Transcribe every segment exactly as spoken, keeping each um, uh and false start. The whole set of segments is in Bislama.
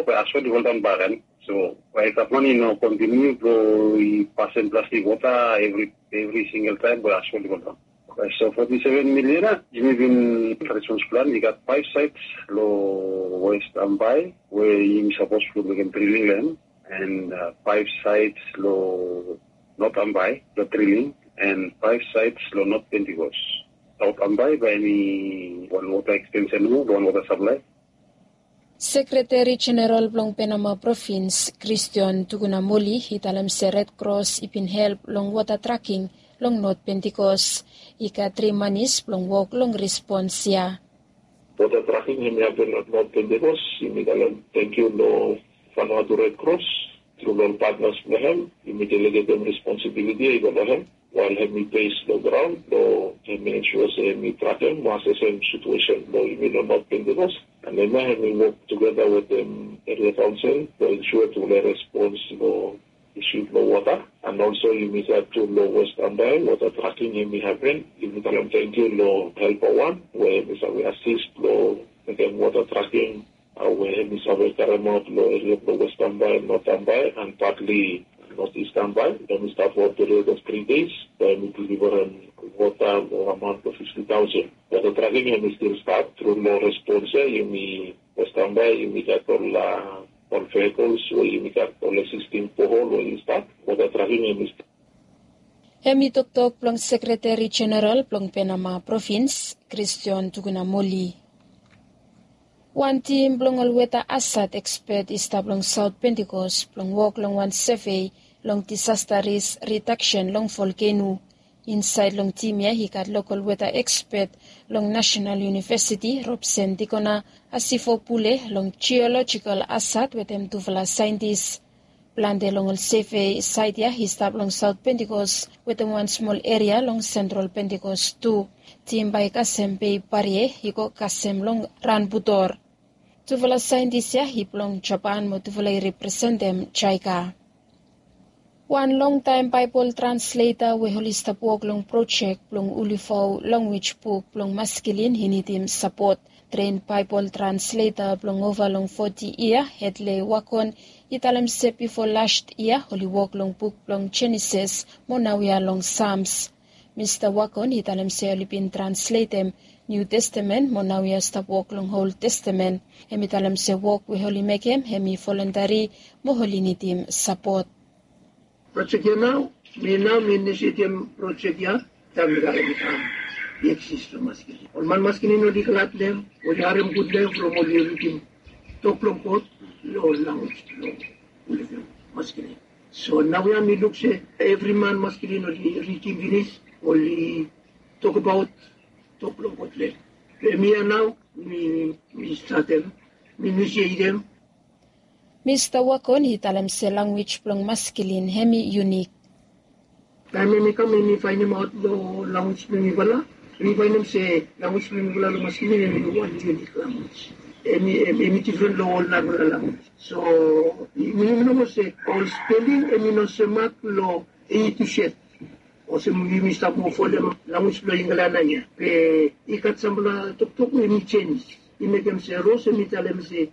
Bae asfalt i foldaon bak. So bae gavman i no kontiniu blong i pasem plastik wota evri evri singel taem bae asfalt i foldaon. So foti seven milion ya yumi bin respons plan i gat faef saets long west Ambae we yumi sapos blong mekem drilling lem, and faef saets long not Ambae blong drilling, and faef saets long not Pentikos. Saot Ambae bae em i wan wota ekstensen nomo blong wan wota saplai. Sekreteri Jeneral blong Penama Provins, Kristion Tukunamoli, i talem se Red Kros i bin help long wota traking long Not Pentikos. I gat tri manis blong wok long respons ya. Wota traking hem i hapen long Not Pentikos, yumi talem tangkiu long Vanuatu Red Kros. Tru long ol patnas blong hem, yumi delegetem responsibiliti ya i go long hem wael hem i bes long graon blong hem i ensua se hem i trakem mo asesem situesen blong yumi long Not Pentikos. And hemia hem i wok tugeta wetem eria kaonsel blong ensua tufala i respons long isu blong wota. And olso yumi gat tu long West Ambae wota traking hem i hapen. Yumi talem tangkiu long helpa wan we hem i save asis blong mekem wota traking we hem i save karemaot long eria blong West Ambae, Not Ambae, and patli Not Ist Ambae. Hem i stap long period of tri deis we hem i deliverem wota long amaon blong fifti taosen. Wota traking hem i stil stap. Tru long respons ya yumi West Ambae yumi gat ol ol vehikols we yumi gat ol eksisting bohol we i stap. Wota traking hem i stap. Hem i toktok blong Sekreteri Jeneral blong Penama Provins, Kristion Tukunamoli. Wan tim blong ol weta asat ekspet i stap long Saot Pentikos blong wok long wan sevei long disasta risk ridaksen long volkeno. Insaed long tim ya i gat lokol weta ekspet long Nasenal Univesiti, Robsen Dikona, Asifo Pule long jiolojikol asat wetem tufala saentis. Plante long ol sevei saet ya i stap long Saot Pentikos wetem wan smol eria long Sentral Pentikos tu. Tim bae i kasem bei parie i go kasem long ranbutor. Tufala saentis ya i blong Japan mo tufala i representem JICA. Wan longtaem Baebol transleta we oli stap wok long projek blong ulifo lanwis buk blong maskilin i nidim sapot. Tren Baebol transleta blong ova long foti yia, Hedle Wakon, i talem se bifo las yia oli wok long buk blong Jenesis mo naoia long Sams. Mista Wakon i talem se oli bin transletem Niu Testamen mo naoia stap wok long Ol Testamen. Hem i talem se wok we oli mekem hem i volontari mo oli nidim sapot. Projek ya nao, mi nao mi inisieitim projek ya taem mi kam i eksis long maskilin. Ol man maskilin oli glad long hem, oli harem gud long hem from oli ridim tok blong God long lanwis blong ol maskilin. So naoia mi luk se evri man maskilin oli ridim finis, oli tokbaot tok blong God long hem. Be mi ya nao mi mi statem, mi inisieitim. Mista Wakon i talem se lanwis blong maskilin hem i yunik. Taem hem i kam hem i faenemaot long lanwis blong mifala, hem i faenem se lanwis blong mifala long maskilin hem i wan yunik lanwis. Hem i hem i difren long ol narafala lanwis. So yumi no moa se ol speling hem i no semak long A to Z. Olsem yumi stap moa folem lanwis blong Inglan ya. Be i gat samfala toktok we hem i jenis. I mekem se Ros hem i talem se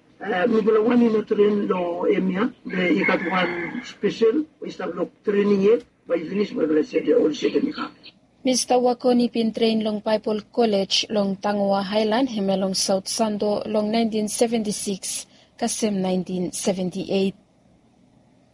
mifala wan i no tren long hemia, be i gat wan spesel we i stap long trening yet, bae i finis bae mifala sete ol sete mi kam. Mista Wakon i bin tren long Baebol Kolej long Tangoa Aelan hemia long Saot Santo long naentin seventi sikis kasem naentin seventi eit.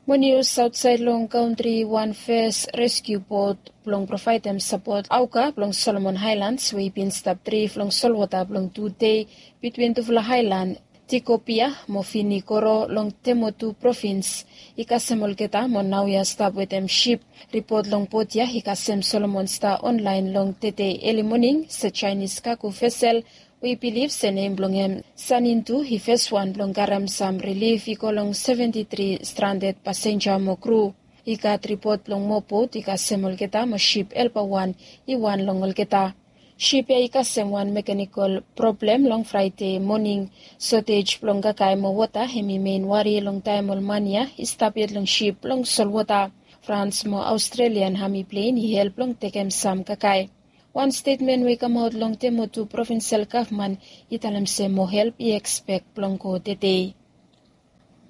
Mo nius aotsaed long kantri, wan fes reskiu bot blong provaedem sapot aoga blong Solomon Aelans we i bin stap drif long solwota blong tu dei bitwin tufala aelan Tikopia mo Vinikoro long Temotu provins i kasem olgeta mo naoia stap wetem sip. Ripot long bot ya i kasem Solomon Star Onlaen long tede eli moning se Jaenis kago vesel we i bilif se nem blong hem Sanintu i feswan blong karem sam rilif i go long seventi tri stranded pasenja mo kru. I gat ripot blong moa bot i kasem olgeta mo sip helpawan i wan long olgeta. Sip ya i kasem wan mekanikol problem long Fraede moning. Sotej blong kakae mo wota hem i mein wari long taem ol man ya i stap yet long sip long solwota. Frans mo Aostrelian ami plen i help long tekem sam kakae. Wan stetmen we i kamaot long Temotu provinsel gavman i talem se moa help i ekspek blong go tede.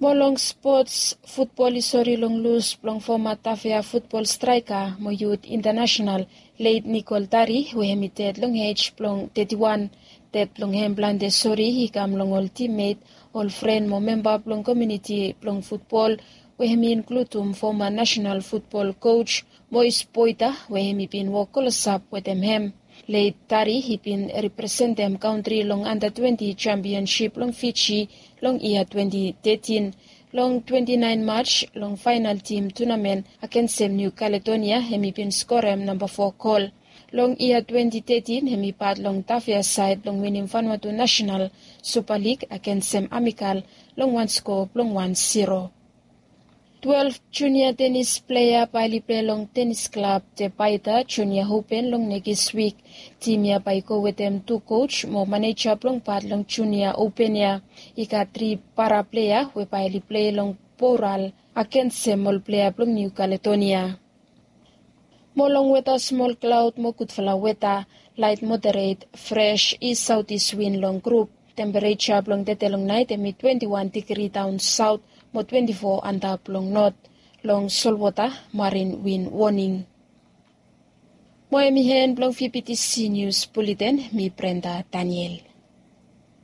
Mo long spots, futbol i sori long lus blong foma Tafea futbol straeka mo yut intanasenal, leit Nikol Tari, we hem i ded long ej blong teti wan. Ded blong hem plante sori i kam long ol timmet, ol fren mo memba blong komuniti blong futbol, we hem i inkludim foma nasenal futbol koj Mois Boita, we hem i bin wok klosap wetem hem. Leit Tari i bin representem kantri long anda twenti jampionsip long Fiji long yia twenti tetin. Long twenti naen Maj, long faenal tim tunamen agensem Niu Kaledonia, hem i bin skorem namba fo gol. Long yia twenti tetin hem i pat long Tafea saed blong winim Vanuatu Nasenal Supa Lig agensem Amikal long wan sko blong wan siro. Twelef junia tenis plea bae oli plei long tenis klab Tebaita Junia Open long nekis wik. Tim ya bae i go wetem tu koj mo maneja blong pat long junia open ya. I gat tri para plea we bae oli plei long boral agensem ol plea blong Niu Kaledonia. Mo long weta, smol klaod mo gudfala weta, laet moderet, fres is saotis win long grup. Tempereja blong tede long naet hem i twenti wan digri daon saot mo twenti fo antap long not. Long solwota, marin win woning. Mo hem i hen blong VBTC Nius Buleten, mi Brenda Daniel.